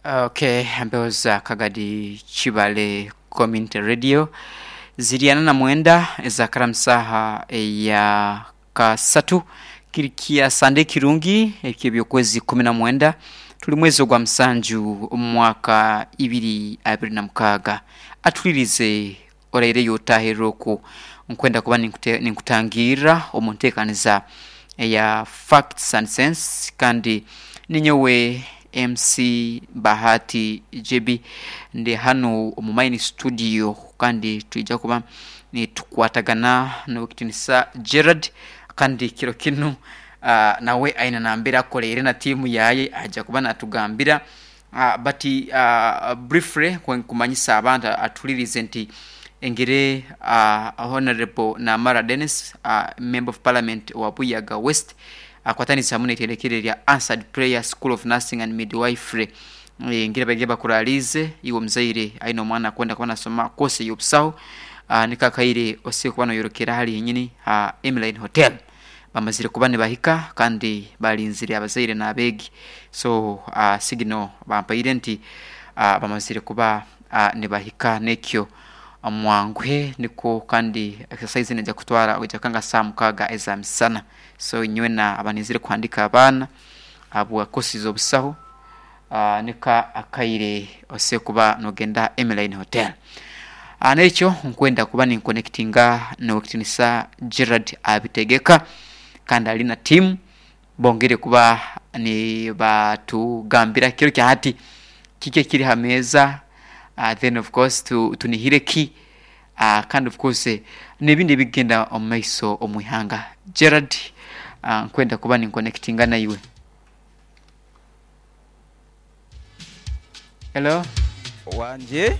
Okay, empewo za Kagadi Kibale Community Radio ziri ana na mwenda ezakara musaha eya kasatu kiri kya Sande kirungi eky'ebyokwezi 19 tuli mwezi ogwa musanju omu mwaka 2026 atulirize oraireyo otahirra oku nkwenda kuba ninkutangirra omu nteekaniza eya Facts and Sense kandi ninyowe MC Bahati JB ndi hanu omu main studio kandi twija kuba nitukwatagana n'owekitinisa Gerald kandi kiro kinu nawe aine nambere akoleire na tiimu yaye aja kuba natugambira but briefly nkumanyisa abantu atulirize nti engeri Honorable Namara Dennis, Member of Parliament owa Buyaga West, akwatanisa hamu n'eitendekero erya Answered Prayer School of Nursing and Midwifery, engeri baigire bakuraliize iwe omuzaire aine omwana akwenda kuba nasoma course ey'obusaho, niko akaire osobora kuba noyorokera hali henyini ha Emline Hotel. Bamazire kuba nibahika kandi balinzire abazaire n'abeegi, so signal bampaire nti bamazire kuba nibahika n'ekyo mwanguhe nikwo kandi exercise neija kutwara oija kukanga saaha mukaaga eza misana. So inywena abanizire kuhandika abaana habwa course z'obusaho, niko akaire osobora kuba nogenda ha Emline Hotel. N'ekyo nkwenda kuba ninkonekitinga n'owekitinisa Gerald Abitegeka kandi ali na tiimu bongere kuba nibatugambira kiro kya hati kiki ekiri ha meeza, then of course tunihire ki, kandi of course n'ebindi ebikugenda omu maiso omu ihanga. Gerald, nkwenda kuba ninkonekitinga naiwe. Hello. Wangi.